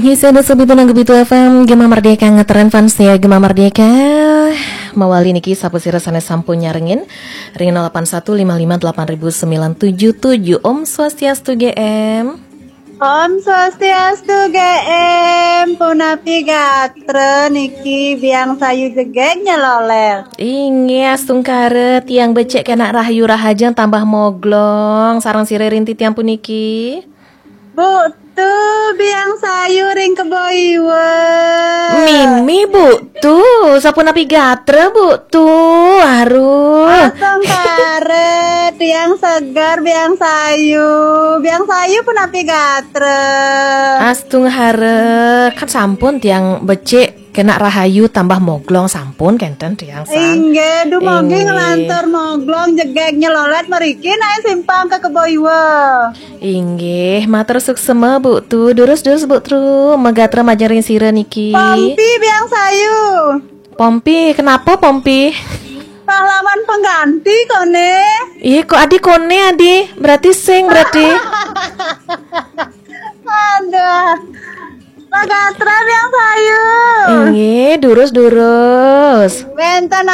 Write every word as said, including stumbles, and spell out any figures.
Inggih, sida sobi Pitu F M, Gema Merdeka ngetren fans ya, Gema Merdeka. Mawali niki sapa sira sané sampun nyarengin ring nol delapan satu lima lima delapan ribu sembilan tujuh tujuh. Om Swastiastu G M. Om Swastiastu G M, punapi gatra niki, biang sayu jegég nyeloler. Inggih, astungkara tiang becik kénak rahayu rahajeng tambah moglong sareng sira ring titiang puniki. Bu Tu, biang sayu ring Kebo Iwa. Mimi, Bu Tu, sapunapi gatra, Bu Tu? Aruh. Astungkara, tiang seger, biang sayu. Biang sayu punapi gatra? Astungkara, kan sampun tiang becik kénak rahayu tambah moglong, sampun kénten tiang san. Inggih, dumugi. Inggih. Nglantur moglong jegég nyelolet mriki naé simpang ka Kebo Iwa. Inggih, matur suksema, Bu Tu. Durus-durus, Bu Tu. Magatra majeng ring sira niki. Pompi, biang sayu. Pompi, kenapa Pompi? Pahlawan pengganti koné. Iya, kok adi koné, adi? Berarti sing, berarti. Aduh. Magatra, biang sayu. Inggih, durus-durus. Wénten